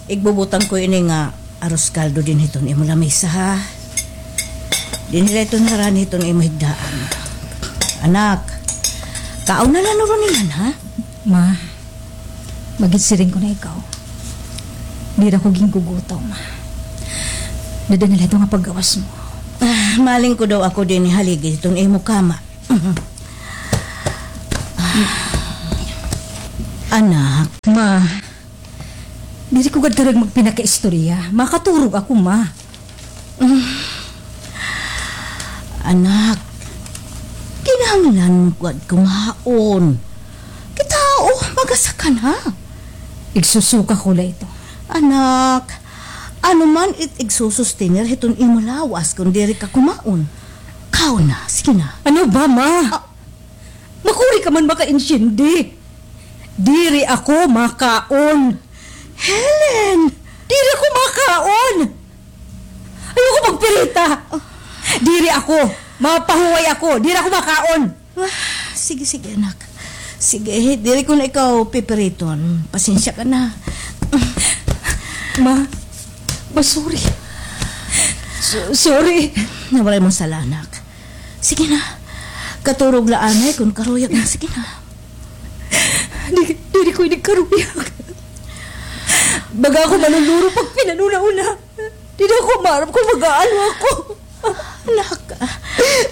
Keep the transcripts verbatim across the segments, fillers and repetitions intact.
Igbubutang ko ini nga arroz caldo dinhi hiton imo lamesa, ha? Dinhi la iton harani hiton imo higdaan. Anak, kaon na la nuron iyan, ha? Ma, magsiring ko na ikaw. Diri ako gingugutom, ma. Dada na la ito nga paggawas mo. Ah, maling ko daw ako dinhi haligi hiton imo kama. Anak. Ma, diri ko gad karuyag magpinakaistorya. Makaturog ako, ma. Anak, kinahanglan mo gad kumaon. Kita, oh, magasa ka na. Igsusuka ko la ito. Anak, ano man it igsusustener hiton imo lawas kon diri ka kumaon? Kaon na, sige na. Ano ba, ma? Ah. Makuri ka man makaintiende. Diri ako makaon. Helen! Diri ako makaon! Ayoko magpirita! Diri ako. Mapahuway ako. Diri ako makaon. Ah, sige, sige, anak. Sige, diri ko na ikaw pipiriton. Pasensya ka na. Ma, ma, sorry. So-, sorry. Waray mo sala, anak. Sige na. Katurog la anay kon karuyag na. Sige na. Di, diri ko ini karuyag. Baga ako manunuro pag pinanuna-una. Diri ako maaram kon mag-aano ako. Anak,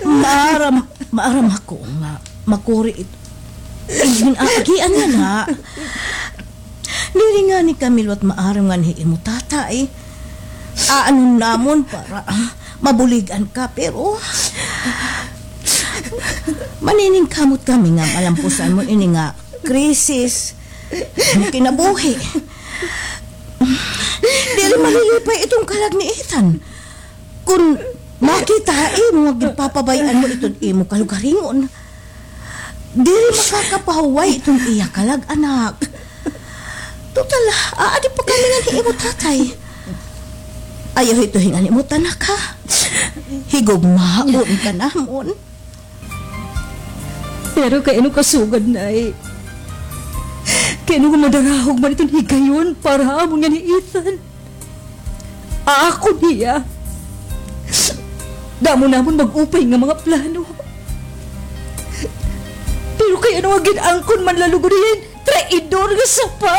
maaram, maaram ako nga makuri ito. Ay, ginaagian na na. Diri ngani kami liwat maaram nganhi imo tatay. Aanon namon para, ah, mabulig-an ka, pero maniningkamot kami nga malampusan mo ini nga krisis. Imo kinabuhi. Diri malilipay iton kalag ni Ethan. Kon makita imo nga ginpapabay-an mo iton imo kalugaringon, diri makakapahuway iton iya kalag, anak. Total, aadi pa kami nganhi imo tatay. Ayaw hito hingan imo tanak, ha? Higugmaon ka namon. Pero kay ano kasugad, Nay? Kay ano nga madarahog man iton higayon para ha amon nganhi Ethan? Ako niya. Damo namon mag-upay nga mga plano. Pero kay ano nga gin-angkon man la lugod hiya hin traidor nga sapa?